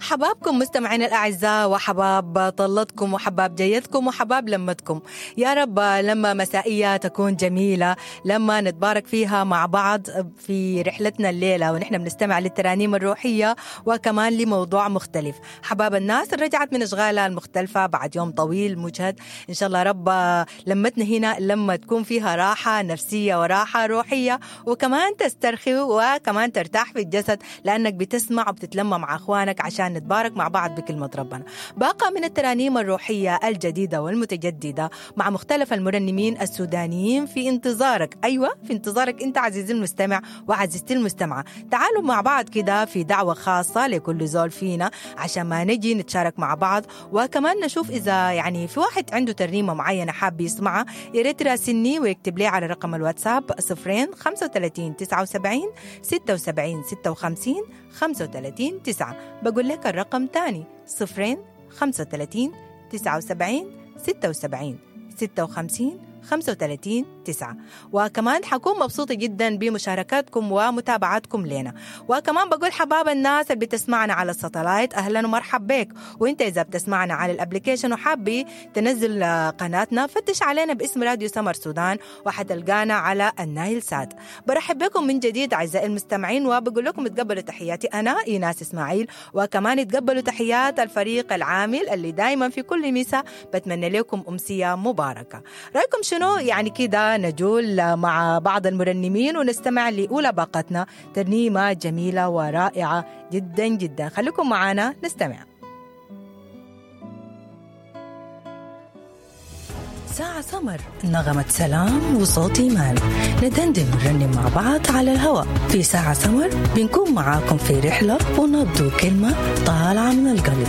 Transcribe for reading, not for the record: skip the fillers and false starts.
حبابكم مستمعينا الأعزاء، وحباب طلتكم وحباب جيتكم وحباب لمتكم. يا رب لما مسائية تكون جميلة، لما نتبارك فيها مع بعض في رحلتنا الليلة ونحن بنستمع للترانيم الروحية وكمان لموضوع مختلف. حباب الناس اللي رجعت من أشغالها المختلفة بعد يوم طويل مجهد، إن شاء الله رب لمتنا هنا لما تكون فيها راحة نفسية وراحة روحية، وكمان تسترخي وكمان ترتاح في الجسد لأنك بتسمع وبتتلمى مع أخوانك عشان نتبارك مع بعض بكلمة ربنا. باقة من الترانيم الروحية الجديدة والمتجددة مع مختلف المرنمين السودانيين في انتظارك. أيوة، في انتظارك أنت عزيزي المستمع وعزيزتي المستمعة. تعالوا مع بعض كده في دعوة خاصة لكل زول فينا عشان ما نجي نتشارك مع بعض، وكمان نشوف إذا يعني في واحد عنده ترنيمة معينة حاب يسمعها يا ريت يراسلني ويكتب لي على رقم الواتساب 0 35 79 76 56 35 9. بقول لك الرقم تاني 0 35 79 76 56 35 9. وكمان حكون مبسوطة جدا بمشاركاتكم ومتابعاتكم لنا. وكمان بقول حباب الناس اللي بتسمعنا على ال satellite، أهلا ومرحب بك. وانت إذا بتسمعنا على ال application وحابي تنزل قناتنا فتش علينا باسم راديو سمر سودان وحتلقانا على النايل سات. برحب بكم من جديد أعزائي المستمعين، وبقول لكم تقبلوا تحياتي أنا إيناس إسماعيل، وكمان تقبلوا تحيات الفريق العامل اللي دايما في كل مساء بتمنى لكم أمسية مباركة. رأيكم شنو يعني كده نجول مع بعض المرنمين ونستمع لأولى باقتنا ترنيمة جميلة ورائعة جدا جدا. خليكم معنا نستمع. ساعة سمر، نغمة سلام وصوت إيمان، ندندن ونرنم مع بعض على الهواء في ساعة سمر. بنكون معاكم في رحلة ونبدو كلمة طالعة من القلب.